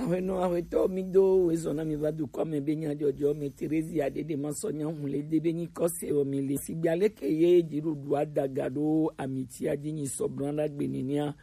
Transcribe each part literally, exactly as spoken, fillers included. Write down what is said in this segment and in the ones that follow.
Hwenu ahwetɔ mi do wezɔn na mi va dukɔ me be nya jɔjɔ me Terezia dede ma sɔ nya hun le de be nyi kɔse o mi le. Sigba leke ye dziɖuɖu adaga ɖo amiti adzi nyi sɔblan ɖagbe nenia.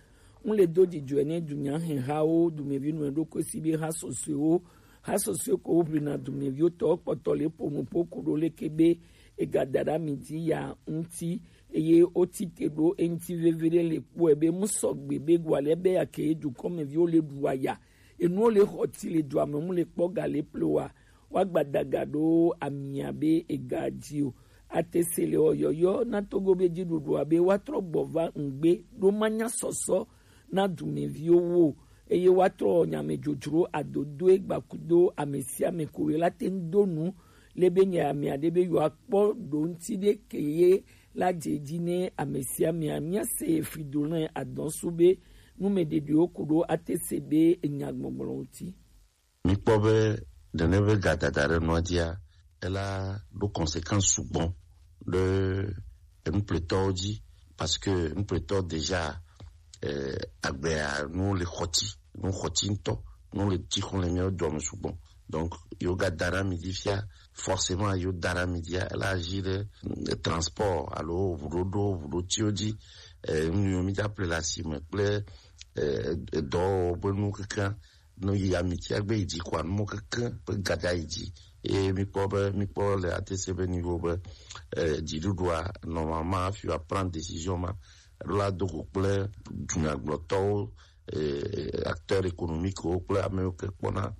Ŋu le do dzidzɔe ne dunya hɛhawo, dumevi nɔe ɖo kosi be ha sɔsɔewo, ha sɔsɔe ko woʋlina dumeviwo tɔ kpɔtɔ le ƒo nu ƒo ku ɖo leke be ega da ɖe ami dzi ya ŋuti, eye woti te ɖo eŋuti veve ɖe le kpɔe be mu sɔgbe be gwa le be ya ke dukɔmeviwo le ɖu aya, enuwo le xɔ ti le dua me mu le kpɔ ga le ple wa, wa gbadaga ɖo amia be ega dzi o. Ate se le ɔyɔyɔ na Togo be dziɖuɖua be woatrɔ gbɔ va ŋgbe ɖo manya sɔsɔ na dumeviwo wo, eye woatrɔ nyamedzodzro adodoe gbakudo ame sia ame ko ye la te ŋu do nu le be nya ame aɖe be yewoakpɔ ɖo ŋuti ɖe ke ye la dze dzi ne ame sia amea. Míase Fridolin Adɔnsu be numeɖeɖewo ku ɖo ate se be enya gbɔgblɔ ŋuti. Mikpɔ be nene be gadada ɖe nua dzia, ela ɖo conséquence sugbɔ ɖe enupletɔwo dzi, parce que enupletɔ déjà, eh, agbea nu le xɔti, nu xɔti ŋutɔ, nu le tsi xɔ le míawo dua me sugbɔ. Donc yo ga da ɖe ami dzi fia, forcément yo da ɖe ami dzia, ela agir ɖe, eh, transport alo ʋuɖoɖo, ʋuɖotiwo dzi, eh, nu yiwo mi dza ple le asime kple, eh, edɔwɔwɔ be nu kekeŋ no yi amitiagbe yi dzi kɔa numo kekeŋ be gada yi dzi. Eye mikpɔ be, mikpɔ le atese be niveau be, eh, dziɖuɖua normalement afi wa prendre décision ma, eɖo la do go kple dunyagblɔtɔwo, eh, acteurs économiques wo kple ame yiwo ke kpɔna,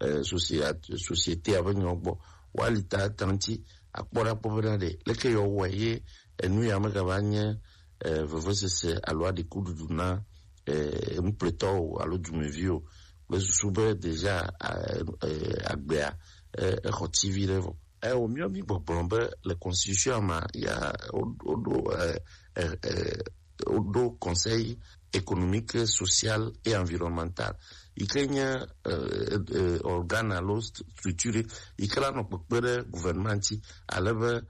eh, société, société ave nyawo gbɔ. Woali ta tanti akpɔ ɖa kpɔ bena ɖe leke yewo wɔe ye enu ya megava nye, eh, vevesese alo aɖikuɖuɖu na, eh, nupletɔwo alo dumeviwo kple susu be déjà, eh, eh, agbea, eh, exɔ tivi ɖe vɔ. Eh, wo miɔ mi gbɔgblɔ be le constitution ma ya wo, woɖo, eh, eh, eh, woɖo Conseil économique, social et environnemental yi ke nye, eh, eh, organe alo st-, structure yi ke la nɔ kpekpe ɖe gouvernement ŋuti, ale be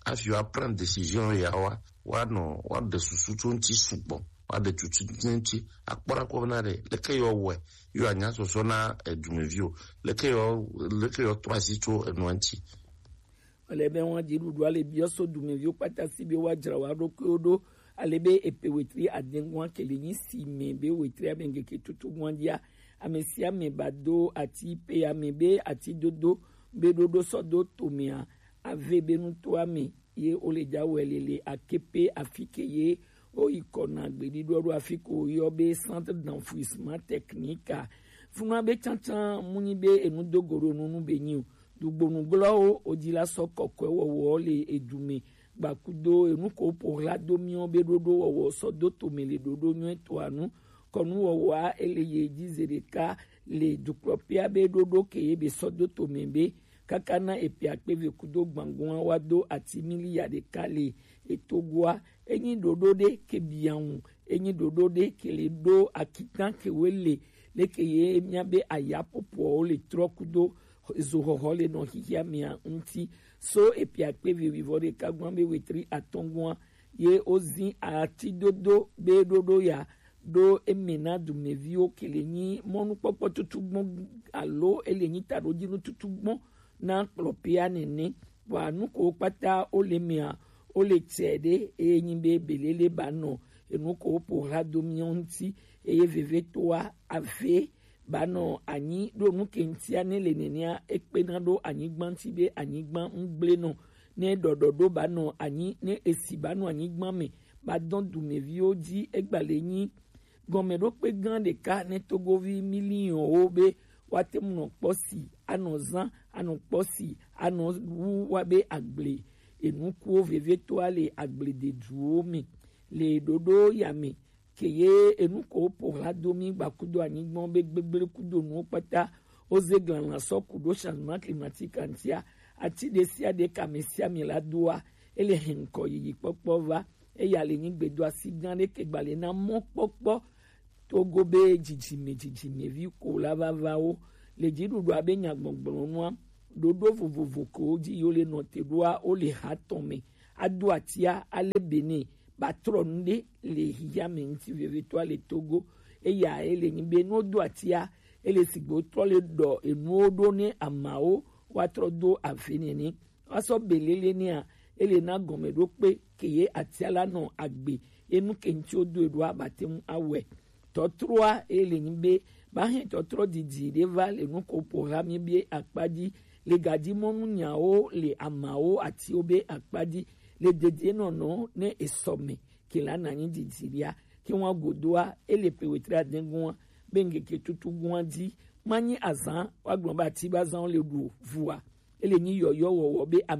afi wa prendre décision ya wa, wa nɔ, wa ɖe susu tso ŋuti sugbɔ, wa ɖe tutu ŋuti, akpɔ ɖa kpɔ bena ɖe leke yewo wɔe, yewo anya sɔsɔ na, eh, dumeviwo, leke yewo, leke yewo trɔ asi tso enua ŋuti. Ele be wọn dziɖuɖua le biɔ so dumeviwo kpata si be woadzra wo ɖokuiwo ɖo, ale be epe wetri adengua ke le nyi si me be wetri ame ŋkeke tutu gua dzia, ame sia ame ba do ati pe ame be ati dodo be ɖoɖo sɔ do tomea ave be nutoa me ye wo le dza wɔe le le akepe afi ke ye wo yi kɔ na gbeɖiɖɔ ɖo afi ko woyɔ be centre d'enfouissement technique a. Funua be tsantsan mu nyi be enu do go ɖo nu nu be nyi o. Dugbonu glɔwo wodzi la sɔ kɔkɔe wɔwɔ le edu me gbakudo enu ko ƒo hla do miɔ be ɖoɖo wɔwɔ sɔ do tome le ɖoɖo nyuie toa nu. Kɔnu wɔwɔa ele ye dzi ze ɖeka le dukplɔƒea be ɖoɖo ke ye be sɔ do tome be kaka na epia kpeve kudo gbangua wa do ati miliya ɖeka le etogoa. Enyi ɖoɖo ɖe ke biaŋu, enyi ɖoɖo ɖe ke le ɖo akitan ke we le leke ye mia be aya popoawo le trɔ kudo zoxɔxɔ le nɔ xixia mia ŋuti. So epia kpeve wivɔ ɖeka gua be wetri atɔngua ye wozi ati dodo be ɖoɖo ya ɖo eme na dumeviwo ke le nyi mɔnukpɔkpɔ tutu gbɔn alo ele nyi taɖodzinu tutu gbɔn na kplɔpea nene. Vɔa nu ko kpata wo le mea, wo le tsɛ ɖe eye nyi be belele ba nɔ enu ko wo ƒo hla do miɔ ŋuti eye vevetoa ave ba nɔ anyi ɖo nu ke ŋutia ne le nenea ekpena ɖo anyigba ŋuti be anyigba ŋgble nɔ ne ɖɔɖɔɖo ba nɔ anyi ne esi ba nɔ anyigba me ba dɔn dumeviwo dzi egbale nyi gɔmeɖokpe gã ɖeka ne togovi miliyɔnwo be woate ŋu nɔ kpɔ si anɔ zã anɔ kpɔ si anɔ wu wa be agble enukuwo vevetoa le agblededuwo me le ɖoɖo ya me ke ye enu ko ƒo hla do mi gbakudo anyigba be gbegble kudo nuwo kpata woze glana sɔ ku ɖo changement climatique ŋutia ati ɖe sia ɖe kame sia me la doa ele hɛn kɔ yiyi kpɔkpɔ va eya le nyigbe do asi gã ɖe ke gbale na mɔ kpɔkpɔ Togo be dzidzime dzidzimevi ko la vavawo le dziɖuɖua be nyagbɔgblɔnua ɖoɖo vovovo ko dzi yo le nɔte ɖoa wo le ha tɔn me ado atia ale bene ba trɔ nu ɖe le hiya me ŋuti vevitɔa le Togo eya ele nyi be no do atia Ele sigbo trɔ le ɖɔ enuwo ɖo ne amawo wa trɔ do ave nɛ ni. Wa sɔ belele nɛa, ele na gɔme ɖo kpe ke ye atia la nɔ agbe, enu ke ŋuti wo do eɖoa ba te ŋu awɛ. Tɔtroa ele nyi be, ba hɛn tɔtrɔ didi ɖe va le nu ko po ha mi be akpa dzi, le gaji mɔnu nyawo le amawo atiwo be akpa dzi, le dedienɔnɔ ne esɔ me ke la na nyi didi ɖia, ke wa godoa, ele pe wetre adegun wa be ŋgeke tutu gun wa dzi, ma nyi azan wa gblɔ be ati ba zan le ɖu vua, ele nyi yɔyɔ wɔwɔ be